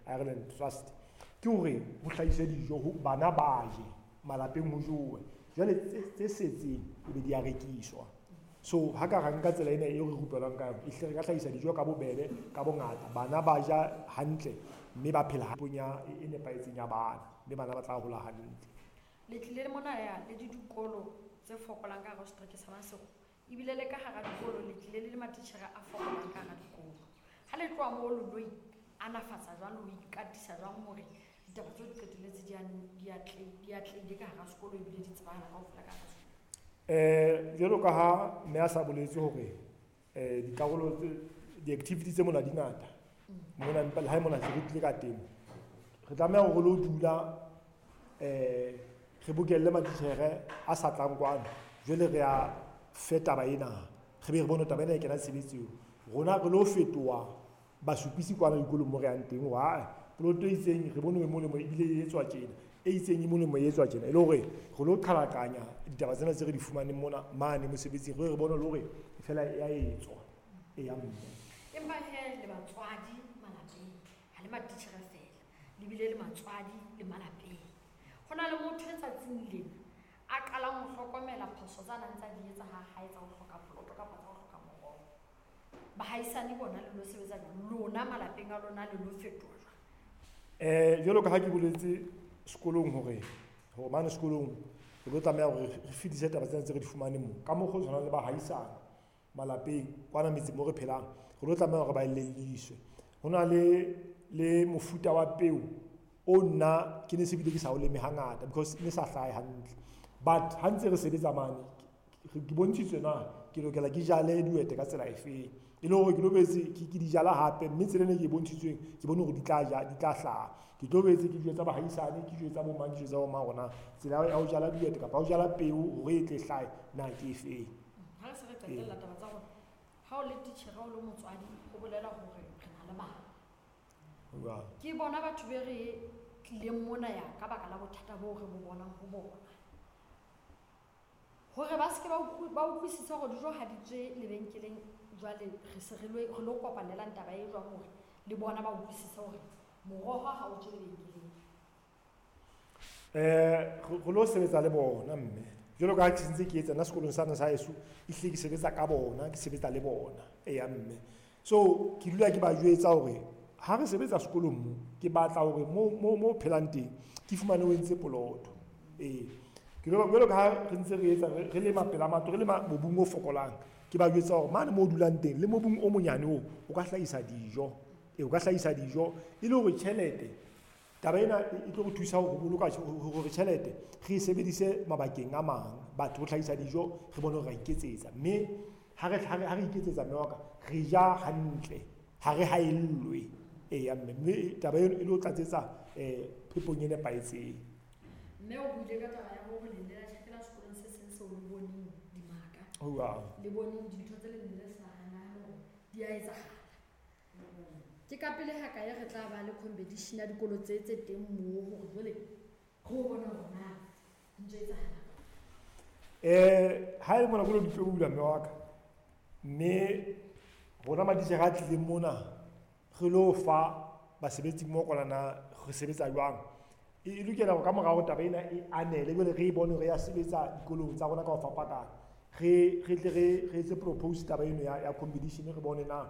Ireland Trust, ke hore ho hlahiswe dijo, bana ba je malapeng, ho jowe, jwale tse setseng e be di a rekiswa. So ha ka ra nka tsela ena eo re rupelwang ka yona, ehlile re ka hlahisa dijo ka bobebe, ka bongata, bana ba ja hantle mme ba phela popong ya e nepahetseng ya bana, mme bana ba tla hola hantle. Le tlile mona ya le dikolo tse fokolang ka hara setereke sa Maseru, ebile le ka hara dikolo le tlile le matitjhere a fokolang ka hara dikolo. Ha le tloha moo le lo anafatsa jwang, le ho ikatisa jwang hore ditaba tseo di qetelletse di atlehile ka hara sekolo ebile di tsebahala kaofela ka hara sekolo? Jwalo ka ha mme a sa boletse hore dikarolo tse, di-activity tse mona di ngata mona, empa le ha e mona se re tlile ka temo, re tlameha hore re lo dula re bokelle matitjhere a sa tlang kwano, jwale re a fe taba ena, re be re bone taba ena e kena tshebetsong. Rona re lo fetoha basupisi kwana dikolong mo re yang teng, hore ae poloto e itseng re bone e molemo ebile e etswa tjena, e itseng e molemo e etswa tjena, e le hore re lo qhalakanya ditaba tsena tse re di fumaneng mona mane mosebetsing, re bone le hore fela e a etswa e ya mme. Empa he le batswadi malapeng, ha le matitjhere fela, le bile le matswadi le malapeng. Ho na le motho e tsatsing lena a qalang ho hlokomela phoso tsa nang tsa di etsa ha hae tsa ho hloka poloto kapa tsa ho hloka moroho. Bahaisane bona le lo sebetsa jwang? Lona malapeng a lona le lo fetoha jwang? Jwalo ka ha ke boletse sekolong hore mane sekolong re tlo tlameha hore re fetise taba tsena tse re di fumaneng moo. Ka mokgwa o tshwanang le bahaisane malapeng kwana metseng mo re phelang, re tlo tlameha hore ba elelliswe. Ho na le mofuta wa peo o nna ke ne se bile ke sa o leme hangata because ne sa hlahe hantle, but ha ntse re sebetsa mane ke bontshitswe na ke lokela ke jale dihwete ka tsela efeng, e le hore ke lo boetse ke di jala hape, mme tsela ena ke e bontshitsweng ke bone hore di tla ja, di tla hlaha. Ke tlo boetse ke jwetsa bahaisane, ke jwetsa bo mang, ke jwetsa bo mang hore na tsela ya ho jala dihwete kapa ho jala peo hore e tle hlahe na ke efeng. Ha re se re qetella taba tsa rona, ha o le titjhere, ha o le motswadi, ho bolela hore re na le bana. Ke bona batho be re tlileng mona ya ka baka la bothata boo re bo bonang ho bona. Hore ba se ke ba utlwisise hore dijo ha di tswe lebenkeleng, jwale re se re lo kopanelang taba e jwang hore le bona ba utlwisise hore moroho ha o tswe lebenkeleng. Re lo sebetsa le bona mme. Jwalo ka ha ke ntse ke etsa nna sekolong sa sa heso, ehlile ke sebetsa ka bona, ke sebetsa le bona. Eya mme. So ke dula ke ba jwetsa hore ha re sebetsa sekolong mo, ke batla hore mo phelang teng ke fumane o entse poloto. Ke jwalo ka ha re ntse re etsa, re lema pela matlo, re lema mobung o fokolang, ke ba jwetsa hore mane mo dulang teng le mobung o monyane oo o ka hlahisa dijo. O ka hlahisa dijo e le hore tjhelete, taba ena e tlo re thusa ho boloka hore tjhelete re e sebedise mabakeng a mang, batho ho hlahisa dijo re bone hore ra iketsetsa, mme ha re iketsetsa mme wa ka re ja hantle, ha re haellwe. Eya mme, mme taba eno e lo tlatsetsa phepong e nepahetseng. Mme o buile ka taba ya hore le ile la tjhakela sekolong se seng seo le boneng dimaka. Le boneng dintho tse le neng le sa nahane hore di a etsahala. Ke ka pele ha kae re tla ba le competition ya dikolo tse teng moo hore jwale re o bone hore na ntho e etsahala. Ha e le mona kolo di tlo bula mme wa ka, mme rona matitjhere a tlileng mona re lo fa basebetsi mmoho kwana na re sebetsa jwang. E lokela hore ka mora hore taba ena e anele, jwale re e bone hore ya sebetsa dikolong tsa rona ka ho fapakana, re tle re etse propose taba eno ya competition, re bone na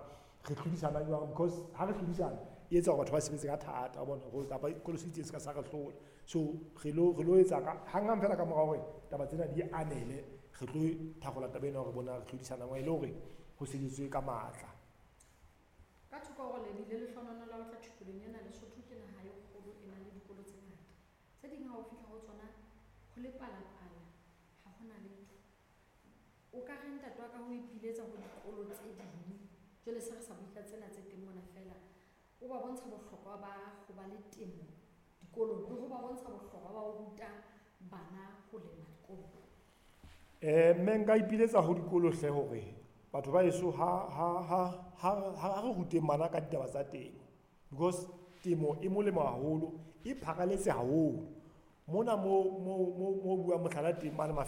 re hlodisana jwang, because ha re hlodisana e etsa hore batho ba sebetse ka thata, wa bona, hore kapa sekolo se itseng se ka sa re hlola. So re lo etsa ka hanghang fela ka mora hore taba tsena di anele, re tlo tharola taba ena hore bona re hlodisana jwang, e le hore ho sebetswe ka matla. Ka thoko hore le bile lehlohonolo la ho tla thupelong ena, Lesotho ke naha e kgolo, e na le dikolo tse ngata. Tse ding ha o fihla ho tsona ho le palapala, ha hona letho. O ka re ntate wa ka ho ipiletsa ho dikolo tse ding, jwale se re sa bue ka tsena tse teng mona fela, o ba bontsha bohlokwa ba ho ba le temo dikolong, le ho ba bontsha bohlokwa ba ho ruta bana ho lema dikolong. Mme nka ipiletsa ho dikolo hle hore batho ba heso ha re ruteng bana ka ditaba tsa temo, because temo e molemo haholo, e pharaletse haholo. Mona mo buang mohlala teng mane